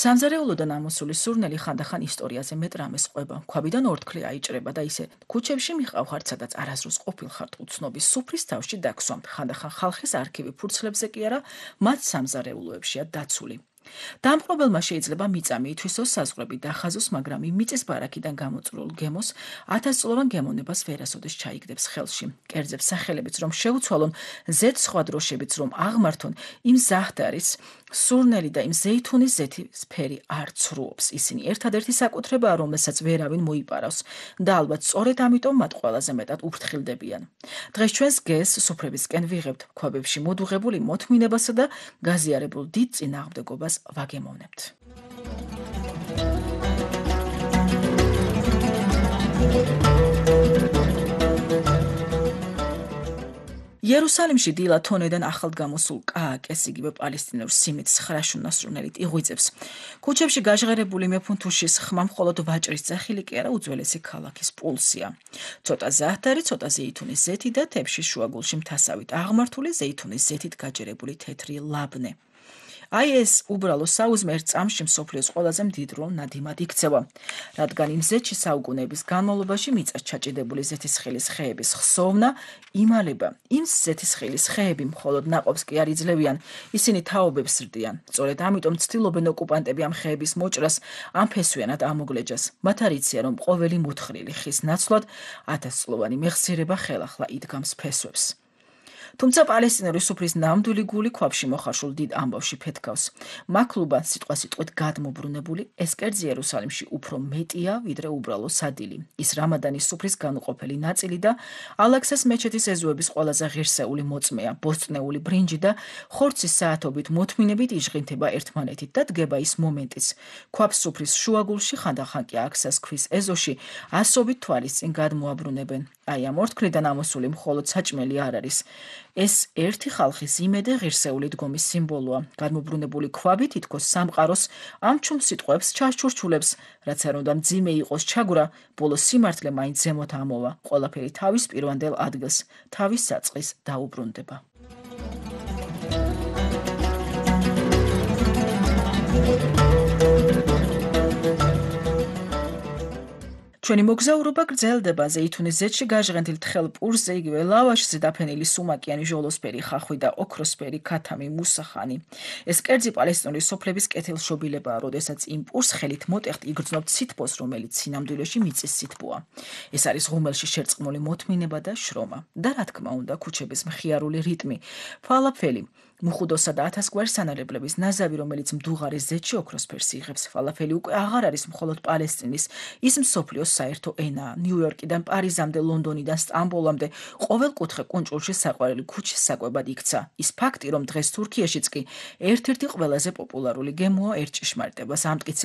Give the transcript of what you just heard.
სამზარეულოდან ამოსული სურნელი ხანდახან ისტორიაზე მეტ რამეს ყვება. ქვაბიდან ორთქლი აიჭრება და ისე ქუჩებში მიყავხართ, სადაც არასდროს ყოფილხართ უცნობი სუფრის თავში დაგსვამთ. ხანდახან ხალხის არქივი ფურცლებზე კი არა, მათ სამზარეულოებშია დაცული. დამპყრობელმა შეიძლება მიწა მიითვისოს, საზღვრები დახაზოს, მაგრამ იმ მიწის ბარაქიდან გამოწვეულ გემოს ათასწლოვან გემოვნებას ვერასოდეს ჩაიგდებს ხელში. კერძებს სახელებიც რომ შეუცვალონ, ზედ სხვა დროშებიც რომ აღმართონ, იმ ზაჰდარის სურნელი და იმ ზეითუნის ზეთის ფერი არ ცრუობს. ისინი ერთადერთი საკუთრებაა, რომელსაც ვერავინ მოიპარავს და ალბათ სწორედ ამიტომ მათ ყველაზე მეტად უფრთხილდებიან. დღეს ჩვენს გეს სუფრებისკენ ვიღებთ, ქვაბებში მოდუღებული მოთმინებასა და გაზიარებულ დიდ წინააღმდეგობას ვაგემოვნებთ. იერუსალიმში დილა თონედან ახლად გამოსულ კააკეს იგივე პალესტინურ სიმიტს ხრაშუნა სურნელით იღვიძებს. ქუჩებში გაჟღერებული მეფუნთუშის ხმა მხოლოდ ვაჭრის ძახილი კი არა, უძველესი ქალაქის პულსია. ცოტა ზაჰდარი, ცოტა ზეითუნის ზეთი და თებშის შუაგულში მთასავით აღმართული ზეითუნის ზეთით გაჯერებული თეთრი ლაბნე. აი ეს უბრალო საუზმე ერთ წამში მსოფლიოს ყველაზე მდიდრულ ნადიმად იქცევა, რადგან იმ ზეთში საუკუნეების განმავლობაში მიწას ჩაჭიდებული ზეთისხილის ხეების ხსოვნა იმალება. იმ ზეთისხილის ხეები მხოლოდ ნაყოფს კი არ იძლევიან, ისინი თაობებს ზრდიან. სწორედ ამიტომ ცდილობენ ოკუპანტები ამ ხეების მოჭრას, ამ ფესვიანად ამოგლეჯას. მათ არ იციან, რომ ყოველი მოთხრილი ხის ნაცვლად ათასწლოვანი მეხსიერება ხელახლა იდგამს ფესვებს. თუმცა პალესტინური სუფრის ნამდვილი გული ქვაბში მოხარშულ დიდ ამბავში ფეთქავს. მაქლუბა სიტყვასიტყვით გადმობრუნებული, ეს კერძი იერუსალიმში უფრო მეტია, ვიდრე უბრალო სადილი. ის რამადანის სუფრის განუყოფელი ნაწილი და ალაქსას მეჩეთის ეზოების ყველაზე ღირსეული მოწმეა, ბოსტნეული ბრინჯი და ხორცის საათობით მოთმინებით იჟღინთება ერთმანეთით და დგება ის მომენტიც. ქვაბს სუფრის შუაგულში, ხანდახან კი აქსას ქვის ეზოში, ასობით თვალის წინ გადმოაბრუნებენ. აი ამ ორთქლიდან ამოსული მხოლოდ საჭმელი არ არის. ეს ერთი ხალხის იმედე ღირსეული დგომის სიმბოლოა. გადმობრუნებული ქვაბი თითქოს სამყაროს ამ ჩუმ სიტყვებს ჩასჩურჩულებს, რაც არ უნდა მძიმე იყოს ჩაგვრა, ბოლო სიმართლე მაინც ზემოთ ამოვა. ყველაფერი თავის პირვანდელ ადგილს, თავის საწყის დაუბრუნდება. ჩვენი მოგზაურობა გრძელდება ზეითუნის ზეთში გაჟღენთილ თხელ პურზე, იგივე ლავაშზე დაფენილი სუმაკიანი ჟოლოსფერი ხახვი და ოქროსფერი ქათამი მუსახანი. ეს კერძი პალესტინური სოფლების კეთილშობილებაა, როდესაც იმ პურს ხელით მოტეხთ იგრძნობთ სითბოს, რომელიც სინამდვილეში მიწის სითბოა. ეს არის ღუმელში შერწყმული მოთმინება და შრომა. და რა თქმა უნდა, ქუჩების მხიარული რიტმი, ფალაფელი, მუხუდოსა და ათასგვარ სანარებლების ნაზავი, რომელიც მდუღარის ზეთში ოქროსფერს იღებს. ფალაფელი უკვე აღარ არის მხოლოდ პალესტინის, ის მსოფლიოს საერთო ენაა. ნიუ-იორკიდან პარიზამდე, ლონდონიდან სტამბოლამდე ყოველ კუთხე კუნჭულში საყვარელი ქუჩის საკვებად იქცა. ის ფაქტი, რომ დღეს თურქიაშიც კი ერთ-ერთი ყველაზე პოპულარული გემოა, ერთ ჭიშმარიტებას ამტკიცებს.